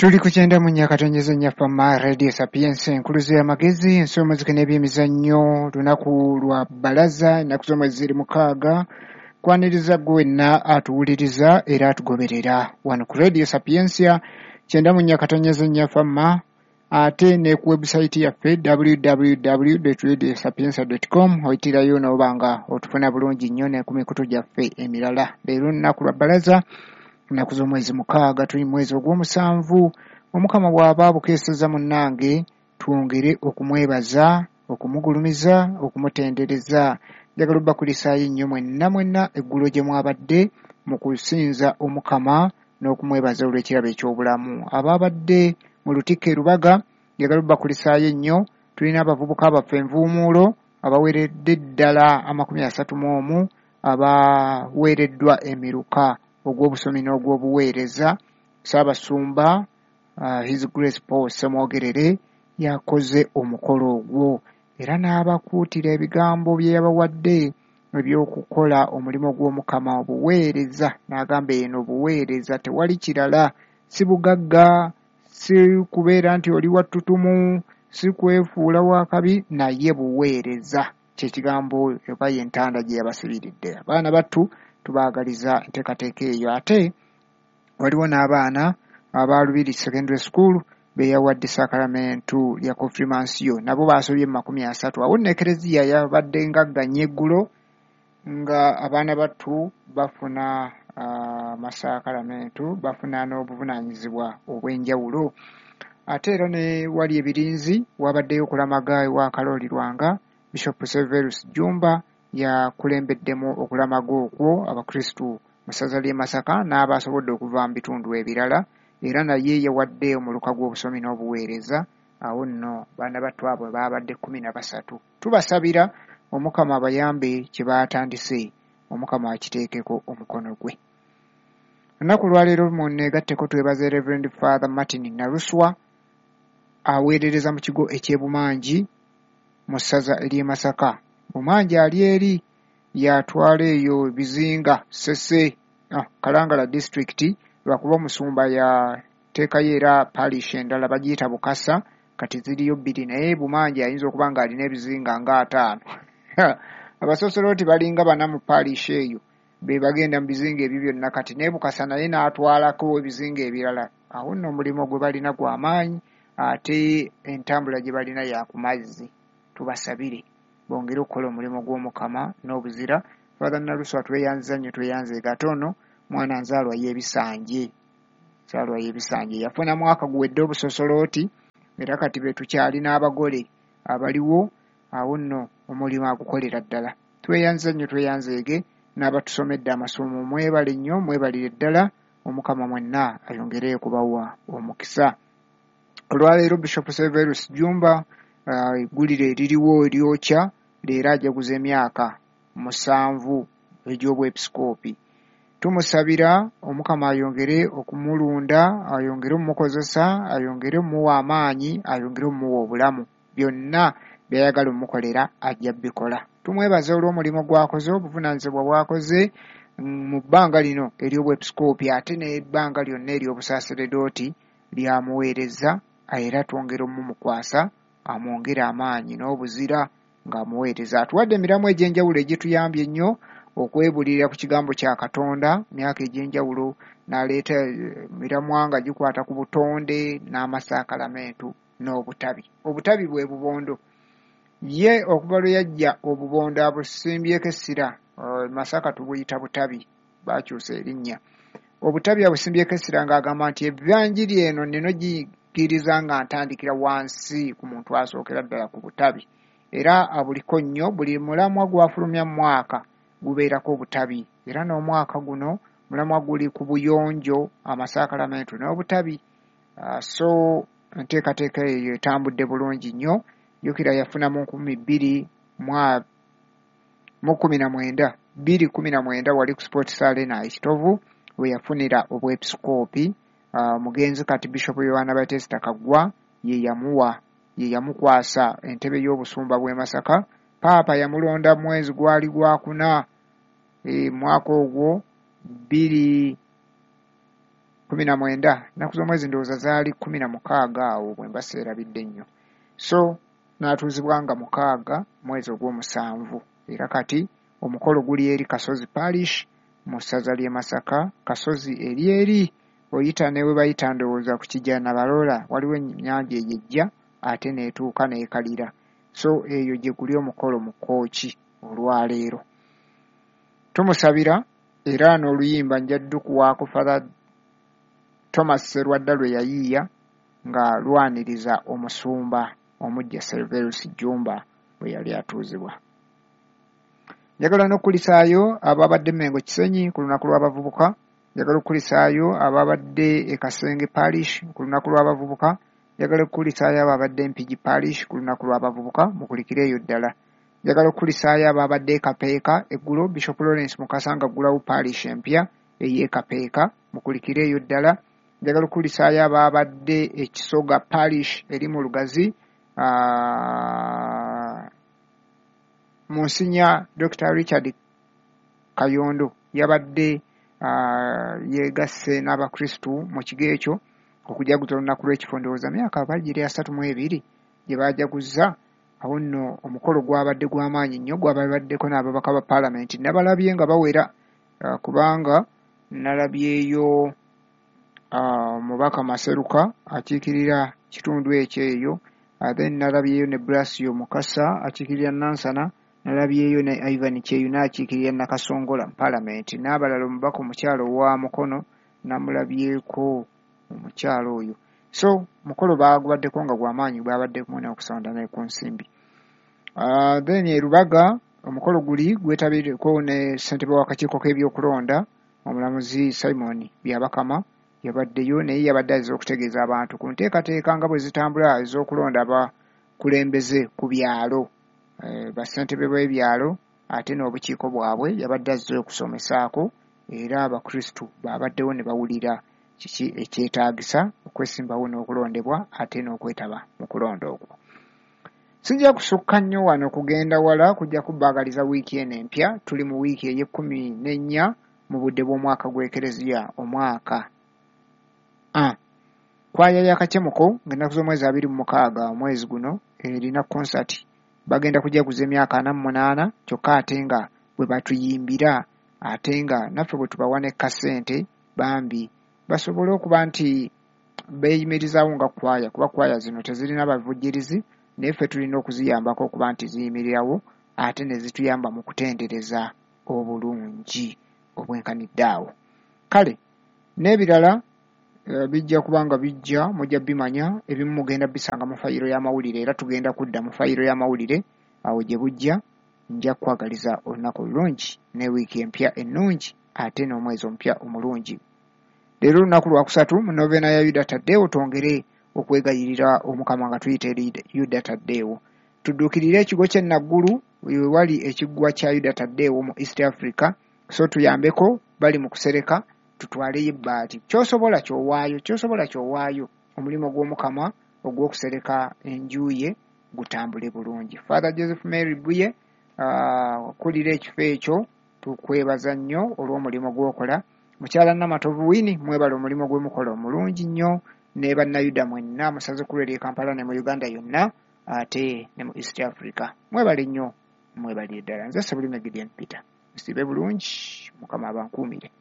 Tuli ku 94.4 Fama Radio Sapientia, enkuluze y'amagezi, ensi y'omuziki n'ebyemizannyo. Lunaku lwa bbalaza, ennaku z'omwezi ziri 6. Kwaniriza ggwe wenna atuwuliriza era atugoberera wano ku Radio Sapientia 94.4 Fama, ate ne ku website yaffe www.radiosapientia.com oyitirayo n'oba nga otufuna bulungi nnyo ne ku mikutu gyaffe emirala. Leero lunaku lwa bbalaza, ennaku z'omwezi 6, tuli mu mwezi ogw'omusanvu. Omukama bw'aba abukeeseza munnange, twongere okumwebaza, okumugulumiza, okumutendereza. Njagala obbakulisaayo nnyo mwenna mwenna eggulo gye mwabadde mu kusinza Omukama n'okumwebaza olw'ekirabo eky'obulamu. Abaabadde mu Lutikko e Lubaga, njagala obbakulisaayo nnyo. Tulina abavubuka baffe envuumuulo abaweredde ddala 31 abaweereddwa emiruka ogw'obusomi n'ogw'obuweereza. Ssaabasumba His Grace Paul Ssemwogerere yakoze omukolo ogwo era n'abakuutira ebigambo bye yabawadde eby'okukola omulimu gw'Omukama, obuweereza. N'agamba eno obuweereza tewali kirala, si bugagga, si kubeera nti oli wa ttutumu, si kwefuula wa kabi, naye buweereza. Kye kigambo oba y'entanda gye yabasibiridde. Abaana battu tubaagaliza enteekateeka eyo. Ate waliwo n'abaana aba Lubiri Secondary School be yawadde saakalamentu lya konfirmansiyo, nabo baasobye mu 30. Awo nno Ekereziya yabadde ngagga nnyo eggulo nga abaana battu bafuna amasaakalamentu, bafuna n'obuvunaanyizibwa obw'enjawulo. Ate era ne wali ebirinzi wabaddeyo okulamaga ewa Kalooli Lwanga. Bishop Severus Jjumba yakulembeddemu okulamaga okwo Abakristu mu ssaza ly'e Masaka n'abasobodde okuva mu bitundu ebirala, era naye yawadde omuluka gw'obusomi n'obuweereza. Awo nno baana battu abo baabadde 13. Tubasabira Omukama abayambe kye baatandise, Omukama akiteekeko omukono gwe. Olunaku lwaleero munneegatteko twebaze Reverend Father Martin Naluswa aweerereza mu kigo eky'e Bumangi mu ssaza ery'e Masaka. Bumangi ali eri yatwala eyo ebizinga Ssese, Kalangala disitulikiti, lwakuba omusumba yateekayo era parish endala bagiyita Bukasa, kati ziriyo 2, naye Bumangi ayinza okuba ng'alina ebizinga nga 5. Abasosoloti balinga 4 mu parish eyo be bagenda mu bizinga ebyo byonna, kati ne Bukasa naye n'atwalako ebizinga ebirala. Awo nno omulimu gwe balina gwa maanyi, ate entambula gye balina ya ku mazzi. Tubasabire bongere okukola omulimu gw'Omukama n'obuzira. Father Naluswa tweyanziza nnyo, tweyanzeege. Ate ono mwana nzaalwa y'ebisanje, nzaalwa y'ebisanje, yafuna mwaka guwedde obusosolooti, era kati be tukyalina abagole abaliwo. Awo nno omulimu agukolera ddala. Tweyanziza nnyo, tweyanzeege n'abatusomedde amasomo. Mwebale nnyo, mwebalire ddala. Omukama mwenna ayongere okubawa omukisa. Olwaleero Bishop Severus Jjumba eggulire eririwo eryokya leero ajaguza emyaka 7 egy'obwepisikoopi. Tumusabira Omukama ayongere okumulunda, ayongere omumukozesa, ayongere omumuwa amaanyi, ayongere omumuwa obulamu. Byonna by'ayagala omukolera ajja bikola. Tumwebaza olw'omulimu gw'akoze, obuvunaanyizibwa bw'akoze mu bbanga lino ery'obwepisikoopi, ate n'ebbanga lyonna ery'obusaaseredooti lyamuweereza, era twongere omumukwasa amwongere amaanyi n'obuzira ng'amuweereza. Atuwadde emiramu egy'enjawulo egituyambye ennyo okwebulirira ku kigambo kya Katonda myaka egy'enjawulo, n'aleeta miramwa nga gikwata ku butonde n'amasaakalamentu n'obutabi. Obutabi bwe bubondo. Ye okuva lwe yajja obubondo abusimbyeko essira. Masaka tubuyita butabi, baakyusa erinnya. Obutabi abusimbyeko essira ng'agamba nti evanjiri eno nnina ogikkiriza nga ntandikira wansi ku muntu asookera ddala ku butabi. Era abuliko nnyo, buli mulamwa gw'afulumya mu mwaka gubeerako obutabi. Era n'omwaka guno mulamwa guli ku buyonjo, amasaakalamentu n'obutabi. So enteekateeka eyo etambudde bulungi nnyo. Jjukira yafuna mu 2019, 2019 wali ku Sports Arena e Kitovu we yafunira obwepisikoopi. Omugenzi kati Bishop Yohana Batista Kaggwa ye yamuwa, ye yamukwasa entebe y'obusumba bw'e Masaka. Paapa yamulonda mwezi gwali gwakuna, mwaka ogwo 19, ennaku z'omwezi ndowooza zaali 16 awo bwe mba seerabidde nnyo. So n'atuuzibwa nga 6 mwezi ogw'omusanvu, era kati omukolo guli eri Kasozi Parish mu ssaza ly'e Masaka. Kasozi eri eri oyita ne we bayita ndowooza ku Kijja Nabaloola, waliwo ennyanja eyo ejja ate n'etuuka n'ekalira. So eyo gye guli omukolo mu Kkooki olwaleero. Tumusabira era n'oluyimba nja ddukuwaako Father Thomas Serwadda lwe yayiiya nga lwaniriza omusumba omuggya Serverus Jjumba bwe yali atuuzibwa. Njagala n'okukulisaayo ababadde Mmengo Kisenyi ku lunaku lw'abavubuka. Njagala okukulisaayo ababadde e Kasenge Parish ku lunaku lw'abavubuka. Njagala okukulisaayo ababadde Mpigi Parish ku lunaku lw'abavubuka, mukulikire eyo ddala. Njagala okukulisaayo ababadde e Kapeeka eggulo, Bishop Lawrence Mukasa nga aggulawo parish empya ey'e Kapeeka, mukulikire eyo ddala. Njagala okukulisaayo ababadde e Kisoga Parish eri mu Lugazi, Monsignor Dr. Richard Kayondo yabadde yeegasse n'Abakristu mu kigo ekyo okujaguza olunaku lw'ekifo, ndowooza myaka bagiri 32 gye baajaguzza. Awo nno omukolo gwabadde gw'amaanyi nnyo, gwababaddeko n'ababaka ba paalamenti. Nabalabye nga bawera, kubanga nalabyeyo omubaka Maseruka akiikirira kitundu ekyo eyo, then nalabyeyo ne Blasio Mukasa akiikirira Nansana, nalabyeyo ne Ivan Kyeyune akiikirira Nakasongola mu paalamenti, n'abalala omubaka omukyala owa Mukono namulabyeko omukyala oyo. So mukolo baagubaddeko nga gw'amaanyi, babaddeko n'okusonda ne ku nsimbi. Then e Lubaga omukolo guli gwetabireko ne ssentebe w'akakiiko k'ebyokulonda omulamuzi Simon Byabakama yabaddeyo, naye yabadde azze okutegeeza abantu ku nteekateeka nga bwe zitambula ez'okulonda abakulembeze ku byalo, bassentebe b'ebyalo ate n'obukiiko bwabwe. Yabadde azze okusomesaako era Abakristu babaddewo ne bawulira kiki ekyetaagisa okwesimbawo n'okulondebwa ate n'okwetaba mu kulonda okwo. Sijja kusukka nnyo wano kugenda wala, kujja kubbaagaliza wiiki eno empya. Tuli mu wiiki ey'e14 mu budde bw'omwaka gw'Ekereziya, omwaka A. Kwaya ya Kacemuko ng'ennaku z'omwezi 26 omwezi guno erina konsati, bagenda kujaguza emyaka 48, kyokka ate nga bwe batuyimbira ate nga naffe bwe tubawa ne kasente bambi basobole okuba nti beeyimirizaawo nga kwaya, kuba kwaya zino tezirina bavujjirizi, naye ffe tulina okuziyambako okuba nti ziyimirirawo ate ne zituyamba mu kutendereza obulungi obwenkanidde awo. Kale n'ebirala bijja kuba nga bijja, mujja bimanya, ebimu mugenda bisanga mu fayiro y'amawulire, era tugenda kudda mu fayiro y'amawulire awo gye bujja. Nja kukwagaliza olunaku olulungi ne wiiki empya ennungi ate n'omwezi omupya omulungi. Leero olunaku lwakusatu mu novena ya Yuda Taddeewo, twongere okwegayirira Omukama nga tuyita eri Yuda Taddeewo. Tudduukirire ekigo ky'e Naggulu we wali ekiggwa kya Yuda Taddeewo mu East Africa, so tuyambeko bali mu kusereka, tutwaleyo ebbaati. Ky'osobola ky'owaayo, ky'osobola ky'owaayo, omulimu gw'Omukama ogw'okusereka enju ye gutambule bulungi. Father Joseph Mary Buye akulira ekifo ekyo, tukwebaza nnyo olw'omulimu gw'okola. Mukyala Namatovu Winnie, mwebale omulimu gwe mukola omulungi nnyo, ne bannayuda mwenna musaze ku lw'eri e Kampala ne mu Uganda yonna ate ne mu East Africa. Mwebale nnyo, mwebalire ddala. Nze Ssebulime Gideon Peter. Musiibe bulungi, Mukama abankuumire.